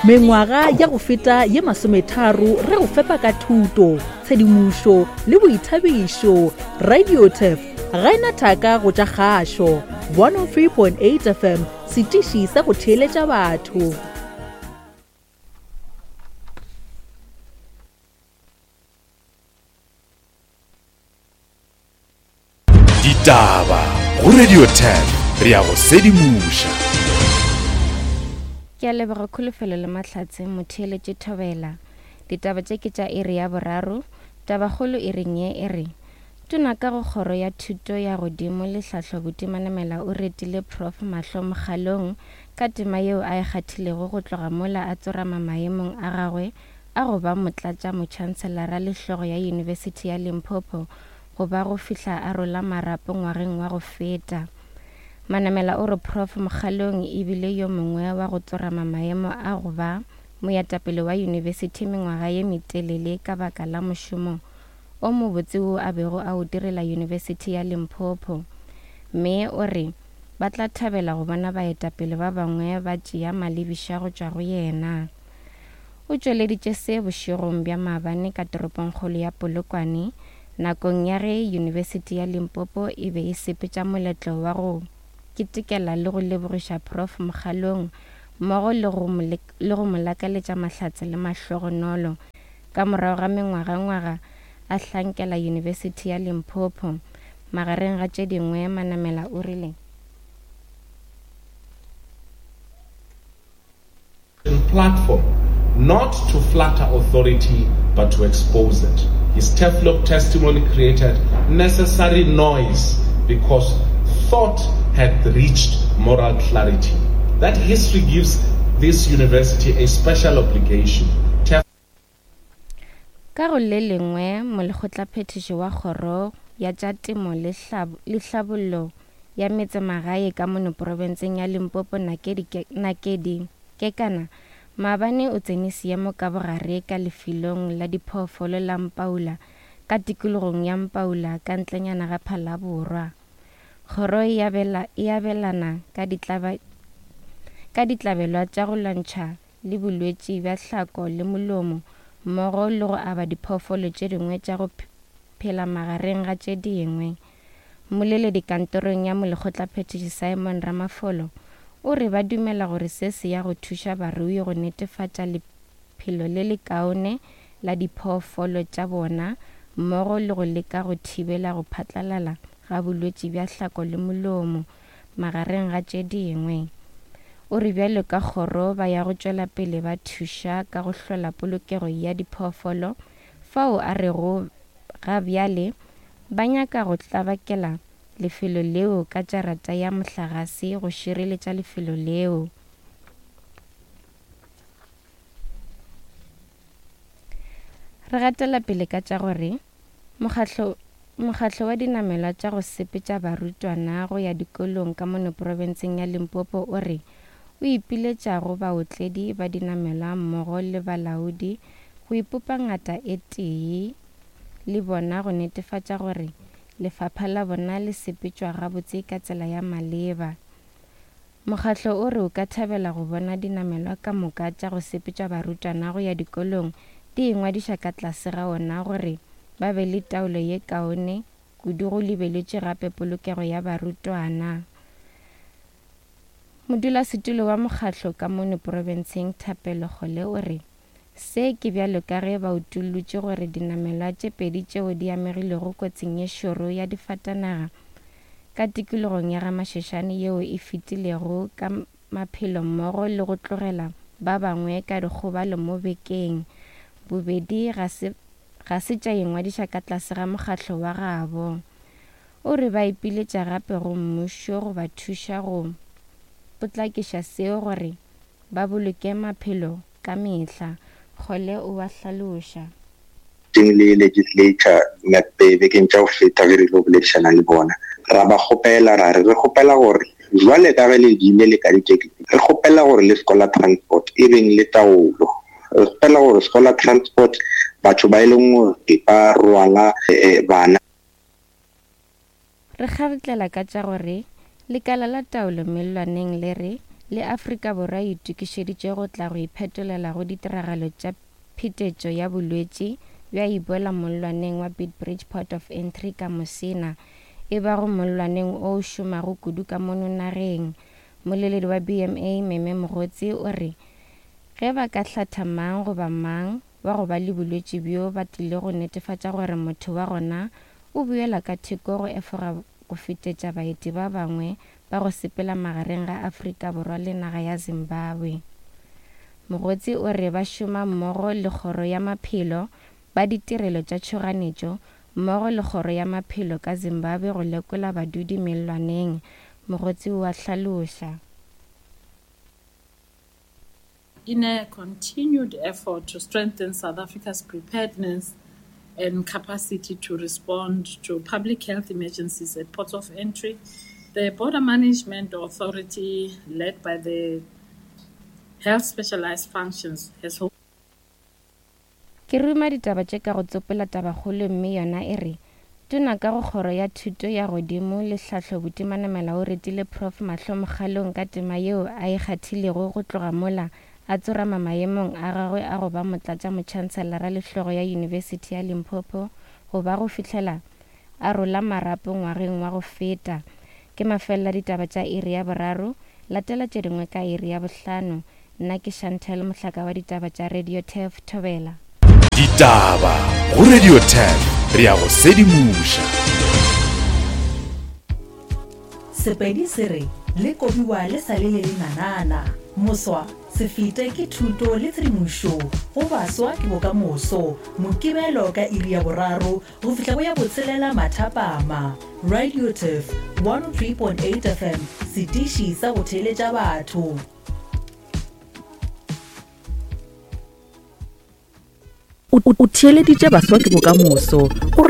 Mengwaga ya go feta ye masometharo re go fepa ka thuto, tshedimošo le boithabišo. Radio Turf ga e na thaka go tša kgašo. 103.8 FM, setiši sa go theeletša batho. Ditaba go Radio 10 re ya go sedimoša. Ke a leboga Kholofelo le Mahlatse motheeletše Thobela. Ditaba tše ke tša iri ya boraro. Tabakgolo iring ye e re, Tona ka go Kgoro ya Thuto ya Godimo le Hlahlo Buti Manamela o retile Prof Mahlo Mokgalong ka tema yeo a e kgathilego go tloga mola a tsorama maemong a gagwe a go ba motlatšamotšhanselara le hlogo ya Yunibesithi ya Limpopo go ba go fihla a rola marapo ngwageng wa go feta. Manamela o re Prof Mokgalong e bile yo mongwe wa go tsorama maemo a go ba moetapele wa yunibesithi mengwaga ye metelele ka baka la mošomo o mobotse wo a bego a o direla Yunibesithi ya Limpopo mme o re ba tla thabela go bona baetapele ba bangwe ba tšea malebiša go tšwa go yena. O tšweleditše se bošegong bja maabane ka toropongkgolo ya Polokwane nakong ya ge Yunibesithi ya Limpopo e be e sepetša moletlo wa go ketekela le go lebogiša Prof Mokgalong mmogo le go le go mo lakaletša mahlatse le mahlogonolo ka morago ga mengwagangwaga a hlankela Yunibesithi ya Limpopo. Magareng ga tše dingwe, Manamela o rile. Platform not to flatter authority but to expose it. His Teflon testimony created necessary noise because thought had reached moral clarity. That history gives this university a special obligation. Ka go le lengwe, molekgotlaphethiši wa Kgoro ya tša Temo le Hlabollo ya Metsemagae ka mono profenseng ya Limpopo Nakedi Nakedi Kekana maabane o tsene seemo ka bogare ka lefelong la diphoofolo la Mpaula ka tikologong ya Mpaula ka ntlenyana ga Phalaborwa. Kgoro e abela e abelana ka ditlaba ka ditlabelwa tša go lwantšha le bolwetši bja hlako le molomo mmogo le go aba diphoofolo tše dingwe tša go phela magareng ga tše dingwe. Mmoleledi kantorong ya Molekgotlaphethiši Simon Ramafolo o re ba dumela gore se se ya go thuša barui go netefatša lephelo le lekaone la diphoofolo tša bona mmogo le go leka go thibela go phatlalala ga bolwetši bja hlako le molomo magareng ga tše dingwe. O re bjalo ka kgoro ba ya go tšwela pele ba thuša ka go hlola polokego ya diphoofolo fao a rego ga bjale ba nyaka go tlabakela lefelo leo ka jarata ya mohlagase go šireletša lefelo leo. Re gatela pele ka tša gore Mokgatlo, mokgatlo wa dinamelwa tša go sepetša barutwana go ya dikolong ka mono profenseng ya Limpopo o re o ipiletša go baotledi ba dinamelwa mmogo le balaodi go ipopa ngata e tee le bona go netefatša gore lefapha la bona le sepetšwa gabotse ka tsela ya maleba. Mokgatlo o re o ka thabela go bona dinamelwa ka moka tša go sepetša barutwana go ya dikolong di ingwadiša ka tlase ga ona gore ba be le taolo ye kaone kudu go lebeletšwe gape polokego ya barutwana. Modulasetulo wa mokgatlo ka mono profenseng Thapelo Kgole o re se ke bjalo ka ge ba utollotše gore dinamelwa tše pedi tšeo di amegilego kotsing ye šoro ya difatanaga ka tikologong ya GaMasheshane yeo e fetilego ka maphelo mmogo le go tlogela ba bangwe ka dikgobalo mo bekeng bobedi ga se ga se tša ingwadiša ka tlase ga mokgatlo wa gabo. O re ba ipiletša gape go mmušo go ba thuša go potlakiša seo gore ba boloke maphelo ka mehla, Kgole o a hlaloša. Teng le legislature bekeng tša go feta ge re ile go boledišana le bona, ra ba kgopela ra re re kgopela gore jwale ka ge le bile le ka ditekisi, re kgopela gore le scholar transport e beng le taolo. Re kgopela gore scholar transport batho ba e leng gore ba rwala bana. Re kgabetlela ka tša gore Lekala la Taolo Mellwaneng le re Le Afrika Borwa e itokišeditše go tla go iphetolela go ditiragalo tša phetetšo ya bolwetši bja Ebola mollwaneng wa Beitbridge Port of Entry ka Musina, e bago mollwaneng o o šomago kudu ka mono nageng. Mmoleledi wa BMA, Meme Mogotsi, o re ge ba ka hlatha mang goba mang wa go ba le bolwetši bjo ba tlile go netefatša gore motho wa gona o buela ka theko go efoga go fetetša baeti ba bangwe ba go sepela magareng ga Afrika Borwa le naga ya Zimbabwe. Mogotsi o re ba šoma mmogo le Kgoro ya Maphelo, ba ditirelo tša tšhoganetšo mmogo le Kgoro ya Maphelo ka Zimbabwe go lekola badudi mellwaneng, Mogotsi o a hlaloša. In a continued effort to strengthen South Africa's preparedness and capacity to respond to public health emergencies at ports of entry, the Border Management Authority, led by the Health Specialized Functions, has Ke ruma ditaba tše ka go tsopola tabakgolo mme yona e re, Tona ka go Kgoro ya Thuto ya Godimo le Hlahlo Buti Manamela o retile Prof Mahlo Mokgalong ka tema yeo a e kgathilego go tloga mola a tsorama maemong a gagwe a go ba Motlatšamotšhanselara le hlogo ya Yunibesithi ya Limpopo go ba go fihlela a rola marapo ngwageng wa go feta. Ke mafelelo a ditaba tša iri ya boraro, latela tše dingwe ka iri ya bohlano. Nna ke Chantel Mohlaka wa ditaba tša Radio Turf Thobela. Ditaba go Radio Turf re a go sedimoša. Sepedi se re le kobiwa le sa le le lenanana. Moswa, se fete ke thuto le tshedimošo go baswa ke bokamoso. Mokibelo ka iri ya boraro go fihla go ya botshelela mathapama. Radio Turf 103.8 FM, setiši sa go theeletša batho. O theeleditše Baswa ke Bokamoso go.